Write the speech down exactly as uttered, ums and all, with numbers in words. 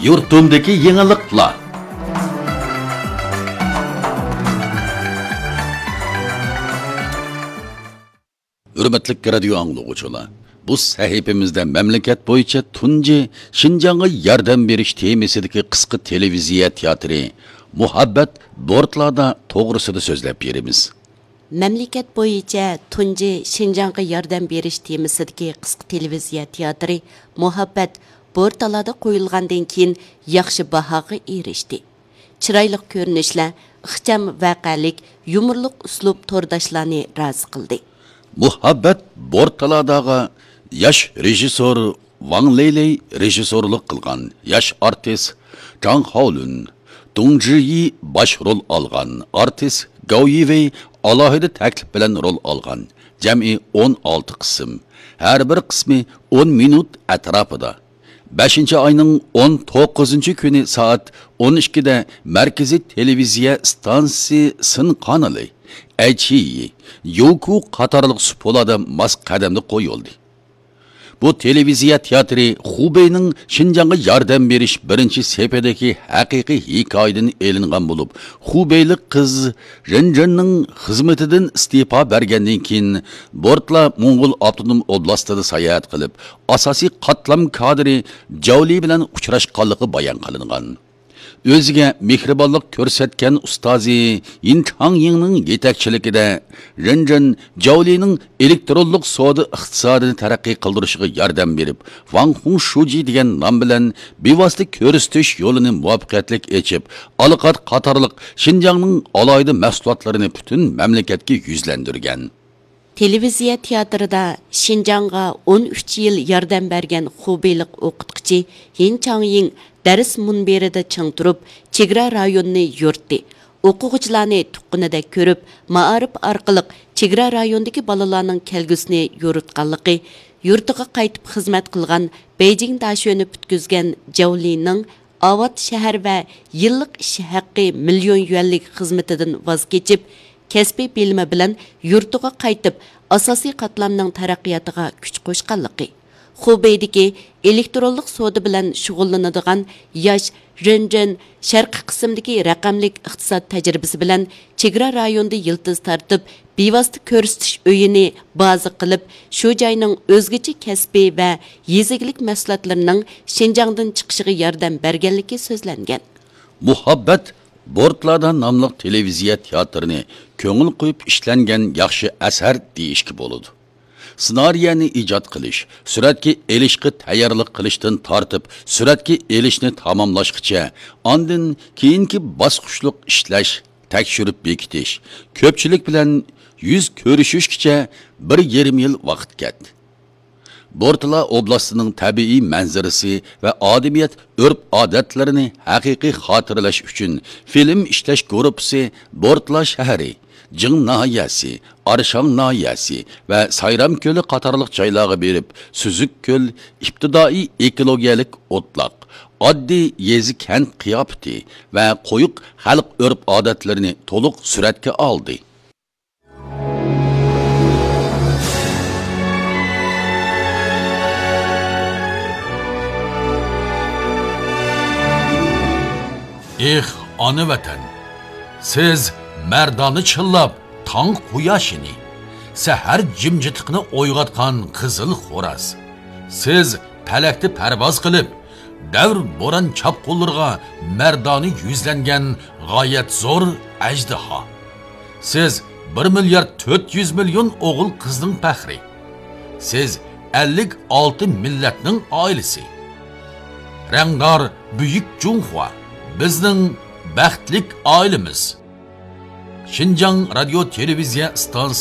يۇرتۇمدىكى يېڭىلىقلار. ھۆرمەتلىك رادىيو ئاڭلىغۇچىلار، بۇ سەھىپىمىزدە مەملىكەت بويىچە تۇنجى شىنجاڭغا ياردەم بېرىش تېمىسىدىكى قىسقا تېلېۋىزىيە تىياتىرى مۇھەببەت بورتلادا توغرىسىدا سۆزلەپ بېرىمىز. مەملىكەت بويىچە تۇنجى شىنجاڭغا ياردەم بېرىش تېمىسىدىكى قىسقا تېلېۋىزىيە تىياتىرى مۇھەببەت بورتالادا قويۇلغاندىن كېيىن ياخشى باھاغا ئېرىشتى. چىرايلىق كۆرۈنۈشلەر، ئىخچام ۋەقەلىك، يۇمۇرلۇق ئۇسلۇب تورداشلارنى رازى قىلدى. مۇھەببەت بورتالاداغا ياش رېژىسسور ۋاڭ لېيلېي رېژىسسورلۇق قىلغان، ياش ئارتىس جاڭ خاۋلۈن، دۇڭ جىيى باش رول ئالغان، ئارتىس گاۋ يىۋېي ئالاھىدە تەكلىپ بىلەن رول ئالغان. جەمئىي ئون ئالتە قىسىم، ھەر بىر قىسمى ئون مىنۇت ئەتراپىدا. بەشىنچى ئاينىڭ ئون توققۇزىنچى كۈنى سائەت ئون ئىككىدە مەركىزىي تېلېۋىزىيە ئىستانسىسى سىن قانىلى، ئەيچىيى، يوكۇ قاتارلىق سۇپۇلاردا ماس قەدەمدە قويۇلدى. بۇ تېلېۋىزىيە تىياتىرى خۇبېينىڭ شىنجاڭغا ياردەم بېرىش بىرىنچى سېپىدىكى ھەقىقىي ھېكايىدىن ئېلىنغان بولۇپ، خۇبېيلىق قىز رېنجېننىڭ خىزمىتىدىن ئىستېپا بەرگەندىن كېيىن، بورتلا موڭغۇل ئاپتونوم ئوبلاستىدا ساياھەت قىلىپ، ئاساسىي قاتلام كادىرى جاۋلى بىلەن ئۇچراشقانلىقى بايان قىلىنغان. ئۆزىگە مېھرىبانلىق كۆرسەتكەن ئۇستازى يىن چاڭيىڭنىڭ يېتەكچىلىكىدە، رېنجېن جاۋلىنىڭ ئېلېكترونلۇق سودا ئىقتىسادىنى تەرەققىي قىلدۇرۇشىغا ياردەم بېرىپ، ۋاڭ خۇڭ شۇجى دېگەن نام بىلەن بىۋاسىتە كۆرسىتىش يولىنى مۇۋەپپەقىيەتلىك ئېچىپ، ئالىقات قاتارلىق شىنجاڭنىڭ ئالاھىدە مەھسۇلاتلىرىنى پۈتۈن مەملىكەتكە يۈزلەندۈرگەن. تېلېۋىزىيە تىياتىرىدا شىنجاڭغا ئون ئۈچ يىل ياردەم بەرگەن خۇبېيلىق ئوقۇتقۇچى يىن چاڭيىڭ دەرس مۇنبىرىدە چىڭ تۇرۇپ، چېگرا رايونىنى يورۇتتى. ئوقۇغۇچىلارنى تۇغقىنىدەك كۆرۈپ، مائارىپ ئارقىلىق چېگرا رايونىدىكى بالىلارنىڭ كەلگۈسىنى يورۇتقانلىقى، يۇرتىغا قايتىپ خىزمەت قىلغان، بېيجىڭ داشۆنى پۈتكۈزگەن جاۋلىنىڭ ئاۋات شەھەر ۋە يىللىق ئىش ھەققى مىليون يۈەنلىك خىزمىتىدىن ۋاز كېچىپ، كەسپىي بىلىمى بىلەن يۇرتىغا قايتىپ، ئاساسىي قاتلامنىڭ تەرەققىياتىغا كۈچ قوشقانلىقى، خۇبېيدىكى ئېلېكترونلۇق سودا بىلەن شۇغۇللىنىدىغان ياش رېنجېن شەرقىي قىسىمدىكى رەقەملىك ئىقتىساد تەجرىبىسى بىلەن چېگرا رايونىدا يىلتىز تارتىپ، بىۋاسىتە كۆرسىتىش ئۆيىنى بازا قىلىپ، شۇ جاينىڭ ئۆزگىچە كەسپىي ۋە يېزا ئىگىلىك مەھسۇلاتلىرىنىڭ شىنجاڭدىن چىقىشىغا ياردەم بەرگەنلىكى سۆزلەنگەن. مۇھەببەت بورتلادا ناملىق تېلېۋىزىيە تىياتىرىنى كۆڭۈل قويۇپ ئىشلەنگەن ياخشى ئەسەر دېيىشكە بولىدۇ. سېنارىيەنى ئىجاد قىلىش، سۈرەتكە ئېلىشقا تەييارلىق قىلىشتىن تارتىپ، سۈرەتكە ئېلىشنى تاماملاشقىچە، ئاندىن كېيىنكى باسقۇچلۇق ئىشلەش، تەكشۈرۈپ بېكىتىش، كۆپچىلىك بىلەن يۈز كۆرۈشۈشكىچە بىر يېرىم يىل ۋاقىت كەتتى. بورتلا ئوبلاستىنىڭ تەبىئىي مەنزىرىسى ۋە ئادىمىيەت ئۆرپ-ئادەتلىرىنى ھەقىقىي خاتىرىلەش ئۈچۈن فىلىم ئىشلەش گۇرۇپپىسى بورتلا شەھىرى، جىڭ ناھىيەسى، ئارشاڭ ناھىيەسى ۋە سايرام كۆلى قاتارلىق جايلارغا بېرىپ، سۈزۈك كۆل، ئىپتىدائىي ئېكولوگىيەلىك ئوتلاق، ئاددىي يېزا-كەنت قىياپىتى ۋە قويۇق خەلق ئۆرپ-ئادەتلىرىنى تولۇق سۈرەتكە ئالدى. ئېھ، ئانا ۋەتەن! سىز مەردانە چىللاپ تاڭ قۇياشىنى، سەھەر جىمجىتلىقىنى ئويغاتقان قىزىل خوراز. سىز پەلەكتە پەرۋاز قىلىپ، دەۋر بوران چاپقۇنلىرىغا مەردانە يۈزلەنگەن غايەت زور ئەجدىھا. سىز بىر مىليارد تۆت يۈز مىليون ئوغۇل قىزنىڭ پەخرى. سىز ئەللىك ئالتە مىللەتنىڭ ئائىلىسى. رەڭدار بۈيۈك جۇڭخۇا، بىزنىڭ بەختلىك ئائىلىمىز. شىنجاڭ رادىيو تېلېۋىزىيە ئىستانسىسى.